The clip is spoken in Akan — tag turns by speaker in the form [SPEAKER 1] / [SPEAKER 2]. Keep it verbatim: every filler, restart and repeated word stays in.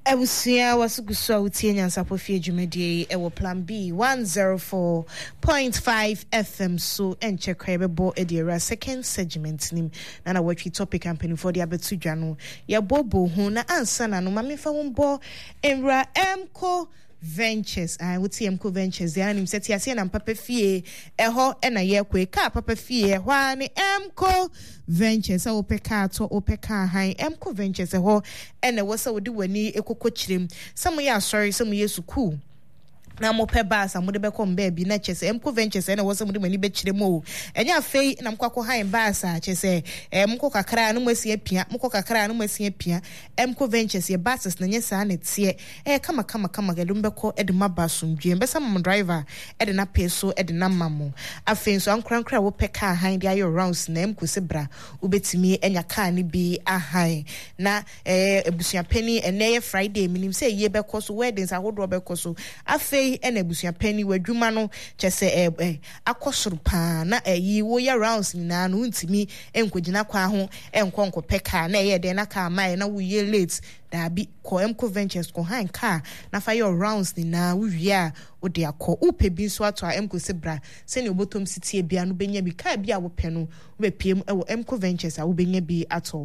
[SPEAKER 1] Abusua, waso gu so a wotie Nyansapɔ Fie dwumadie yi ɛwɔ Plan B one zero four point five F M so. Ɛnkyɛ kora yɛbɛbɔ ɛde awura second segment nim na na wɔatwi topic a mpanimfoɔ de abɛto dwa no, yɛbɔbɔ ho. Na ansa na no, ma memfa ho mbɔ nwura Mco Ventures. Ah, wote Mco Ventures deɛ, anim sɛ te aseɛ nam papa fie ɛhɔ ɛna yɛkɔ kaa papa fie ɛhɔ a ne Mco Ventures. Sɛ wopɛ kaa tɔ, wopɛ kaa han, Mco Ventures ɛhɔ ɛna ɛwɔ sɛ wode w'ani ekokɔ kyerɛm. Sɛ moyɛ asɔre, sɛ moyɛ sukuu na mopɛ bus a mode bɛkɔ mbaabi, na kyɛ sɛ Mco Ventures ɛna ɛwɔ sɛ mode mo ani bɛkyerɛ mu o. Ɛnyɛ afei na mokɔ akɔ han bus a kyɛ sɛ ɛɛ mokɔ kakra na mo asi apia, mokɔ kakra na mo asi apia. Mco Ventures yɛ buses na nyɛ saa na ɛteɛ. Ɛyɛ kama kama kama, yɛde mo bɛkɔ, ɛde mo aba asomdwe, mbɛsa mo driver ɛde n'apɛ so ɛde n'ama mo. Afei nso, ankorankora a wopɛ kaa han de ayɛ rounds na Mco sɛ bra, wobɛtumi anya kaa no bi ahan. Na ɛɛ abusuapɛni, ɛnɛ yɛ Friday, menim sɛ yie bɛkɔ so, weddings ahodoɔ bɛkɔ so. Afei ɛna abusuapɛni, w'adwuma no kyɛ sɛ ɛɛ ɛ akɔ soro paa na ɛyi woyɛ rounds nyinaa no, wontumi nkɔgyina kwan ho nkɔ nkɔpɛ kaa na ɛyɛ dɛn na kaa maa na woyɛ late. Daabi, kɔ Mco Ventures, kɔ han kaa na fa yɛ rounds nyinaa. Wowie a, wode akɔ. Wopɛ bi nso ato a, Mco sɛ bra, sɛnea wobɔtɔm si tie bia no, wobɛnya bi. Kaa bi a wopɛ no, wobɛpie mu ɛwɔ Mco Ventures a, wobɛnya bi atɔ.